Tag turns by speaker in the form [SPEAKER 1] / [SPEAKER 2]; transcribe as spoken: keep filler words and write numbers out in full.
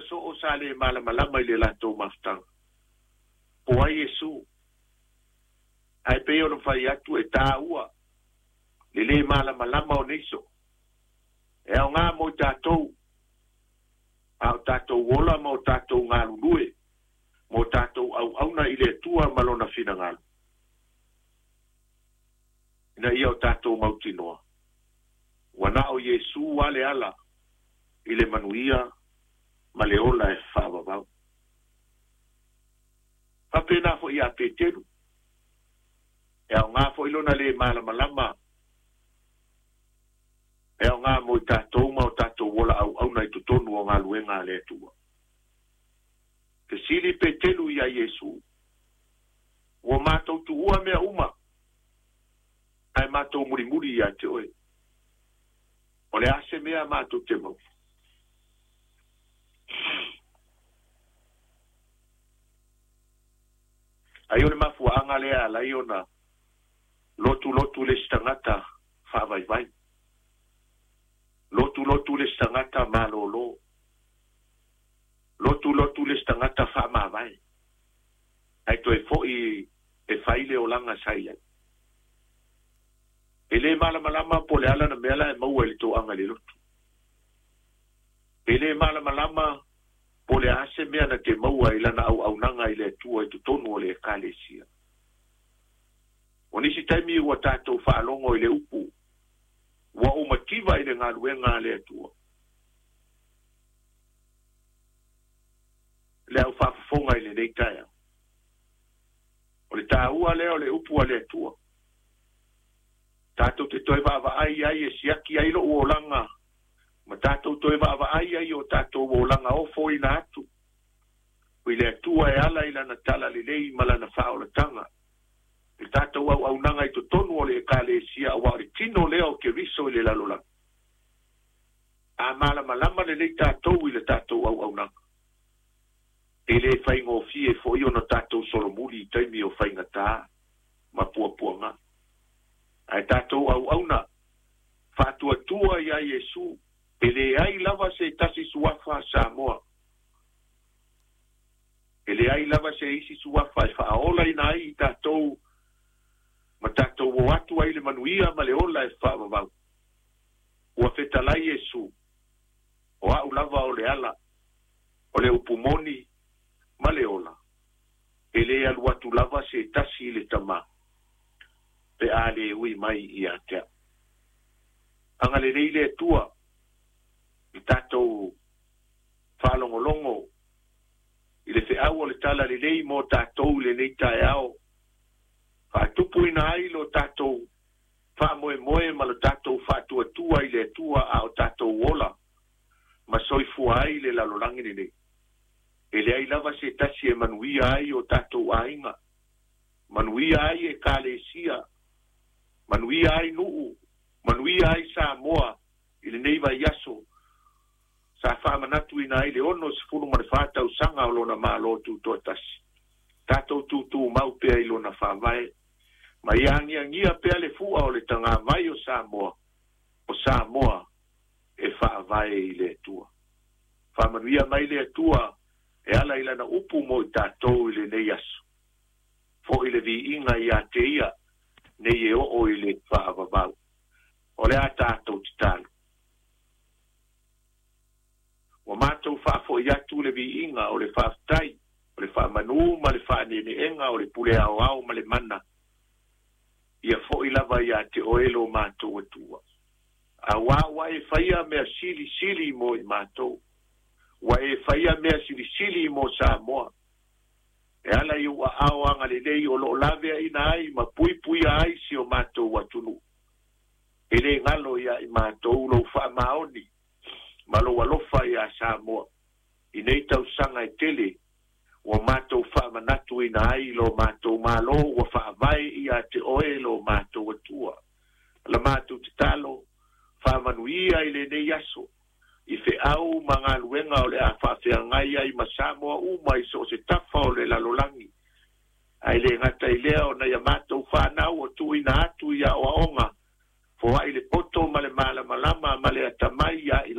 [SPEAKER 1] soo sa le malamalama i le latou mafutaga. Po ai Iesu. Ae pei ona fai atu e tāua le lē malamalama o nei so. E aogā mo i tatou, a o tatou ola ma o tatou galulue, mo tatou auauna i le Atua ma lona finagalo. Ina ia o tatou mautinoa. Ua na o Iesu ale ala i le manuia ma le ola e faavavau. Faapena foi ia Peteru. E aogā foi lona lē malamalama. E aogā mo i tatou ma o tatou ola auauna i totonu o galuega a le Atua. Fesili Peteru ia Iesu. Ua matou tuua mea uma. Ae matou mulimuli ia te oe. O le a se mea matou te maua. Ai o le mafuaaga lea alai ona lotu lotu le isi tagata faavaivai. Lotu lotu le isi tagata malōlō. Lotu lotu le isi tagata faamavae. Ae toe foʻi e fai le olaga sa i ai. E lē malamalama po le ala na mea la e maua i le toaga i le lotu. E lē malamalama po le a se mea na te maua i lana auaunaga i le Atua i totonu o le ekalesia. O nisi taimi ua tatou faalogo i le upu, ua ou mativa i le galuega a le Atua. Le au faafofoga i lenei taeao. O le tāua lea o le upu a le Atua. Tatou te toe vaavaai ai e siaki ai lou olaga, ma tatou toe vaavaai ai o tatou olaga ofoina atu. I le Atua e ala i lana talalelei ma lana faaolataga. I tatou auaunaga i totonu o le ekalesia auā o le tino lea o Keriso i le lalolagi. A malamalama lelei tatou i le tatou auaunaga. E lē faigofie foi ona tatou solomuli i taimi o faigata ma puapuaga. Ae tatou auauna faatuatua iā Iesu e leai lava se tasi suafa Samoa. E leai lava se isi suafa e faaolaina ai i tatou ma tatou o atu ai le manuia ma le ola e faavavau. Ua fetalai Iesu, o a'u lava o le ala, o le upu moni ma le ola. E lē alu atu lava se tasi i le Tamā, pe a lē ui mai ia te a'u. Agalelei le Atua i tatou faalogologo i le feau o le talalelei mo tatou i lenei taeao. Faatupuina ai lo tatou faamoemoe ma lo tatou faatuatua i le Atua a o tatou ola ma soifua ai le lalolagi lenei. E leai lava se tasi e manuia ai o tatou aiga, manuia ai ekalesia, manuia ai nuu, manuia ai Samoa i lenei vaiaso. Sa faamanatuina ai le ono sefulu ma le fa tausaga o lona Malo Tutoatasi. Tatou tutumau pea i lona faavae. Ma ia agiagia pea le fua o le tagavai o Samoa, o Samoa e faavae i le Atua. Faamanuia mai le Atua e ala i lana upu mo i tatou i lenei aso. Foʻi le viiga ia te ia nei e oo i le faavavau. O le a tatou tatalo. Ua matou faafoʻi atu le viiga o le faafetai, o le faamanū ma le faaneeneega o le pule aoao ma le mana. Ia foʻi lava ia te oe lo matou Atua. Auā ua e faia mea silisili mo i matou. Ua e faia mea silisili mo Samoa. E ala i ou aao agalelei o loo laveaina ai ma puipuia ai si o matou atunuu. E lē galo ia i matou lou faamaoni ma lou alofa iā Samoa. I nei tausaga e tele ua matou faamanatuina ai lo matou Malo ua faavae ia te oe lo matou Atua. La matou tatalo faamanuia i lenei aso. I feau ma galuega o le a faafeagai ai ma Samoa uma i so o se tafa o le lalolagi. Ae lē gata i lea ona ia matou fanau o tuuina atu i aoaoga foai le poto ma le malamalama ma le atamai ia i